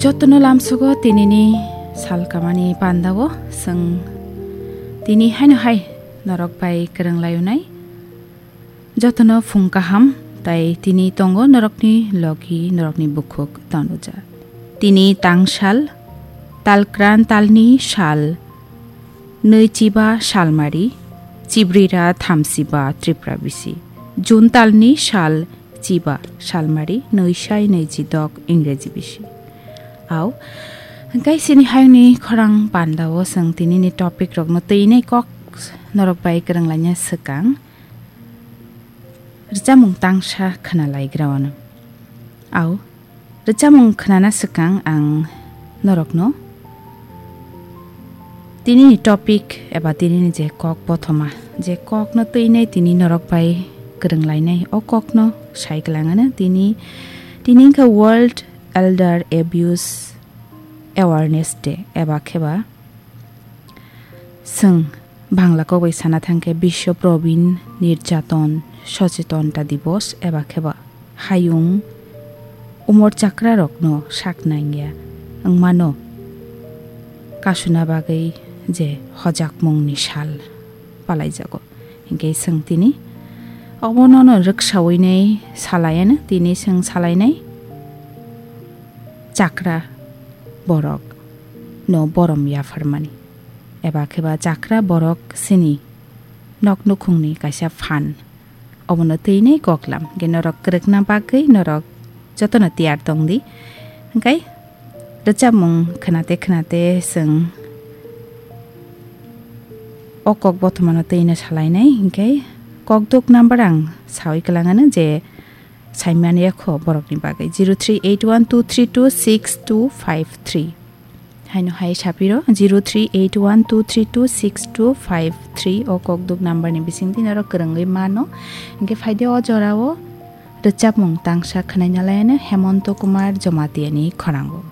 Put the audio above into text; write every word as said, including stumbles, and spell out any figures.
Jotono lamsogo tinini sal kamani pandao chwng tini haino hai norok bai kwrwng laio nai. Jotono phung kaham, tai tini tongo norokni logi, norokni bukhuk Tanuja. Tini tangsal, talkran talni sal, nui chiba salmari, chibrira thamsiba Tripura bisi. June talni sal chiba salmari, nui sai nui chidok Ingreji bisi. Au, hingkai sini hayungni khorang pandao chwng tinini topic rokno twi nai kok norok bai kwrwng laina swkang. Rwchapmung tangsa khna laigra wano. Au, rwchapmung khnana swkang ang norokno tinini topic eba tinini je kok bothoma, je kokno twinai tini norok bai kwrwng lainai, o kokno sai kwlangano tini, tini wngkha World Elder Abuse Awareness Day eba kheba chwng Bangla kok bai sana thangkhe Biswa Probin Nirjaton Sochetonta Divos eba kheba hayung umor chakrarokno sak nangya wngmano kasuna bagwi je hojakmungni sal palaijago. Hinkhe chwng tini obono no rwksaui nai salaiano, tini chwng salainai chakra borok no borom yapharmani. Eba kheba chakra borok chini nok nukhungni kaisa phan. Obono twinai koklam, hingke norok kwrwkna bagwi norok jotono tiyar tongdi. Hingkai rwchapmung khnate khnate chwng o kok bothomano twino salainai, hingke kokduk number ang saui kwlangano je saimani yakho borokni bagwi zero three eight one two three two six two five three. Haino hai sapiro zero three eight one two three two six two five three o kokduk number ni bisingtwi norok kwrwngwi mano. Hingke phaide o jorao rwchapmung tangsa khwnaina laiano Hemonto Kumar Jamatia ni khorango.